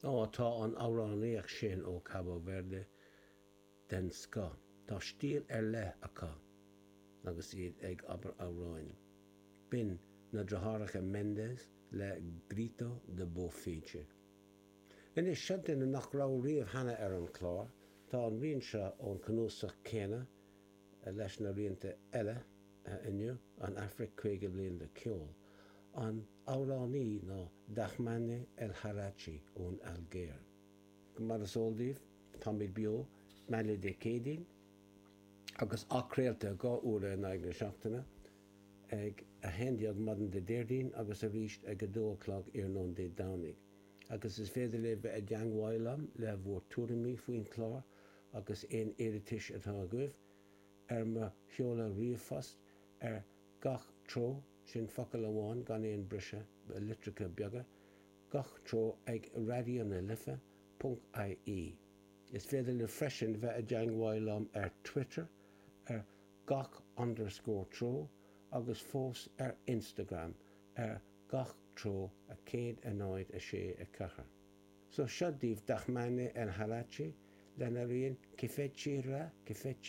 Ó, tá an amhránaíocht sin ó Cabo Verde den scoth. Tá stíl ar leith acu agus iad ag abair amhráin. B'in na deartháireacha Mendes le Grito de Bofete. Anois, seo duine nach raibh riamh cheana ar an chlár. Tá an rian seo ón cnuasach céanna leis na rianta eile inniu, An Afraic 50 Bliain de Cheol. An amhránaí ná Dahmane El Harrachi ón Ailgéir. Mar is eol daoibh, táimid beo maidin Dé Céadaoin agus athchraolta 2 uaire in aghaidh na seachtaine, ag 11 maidin Dé Déardaoin agus arís ag 2 a chlog iarnóin Dé Domhnaigh. Agus is féidir libh bheith i dteangmháil liom le bhur tuairimí faoin chlár agus aon iarratais atá agaibh, ar mo sheoladh ríomhphost ar gach treo, sin focal amháin gan aon briseadh, litreacha beaga, gach treo ag Raidió na Life ponc ie. Is féidir libh freisin bheith i dteangmháil liom ar Twitter ar gach underscore treo agus fós ar Instagram ar gach treo 1 0 6 4. So seo daoibh Dahmane El Harrachi lena rian Kifechi Ra Kifechi.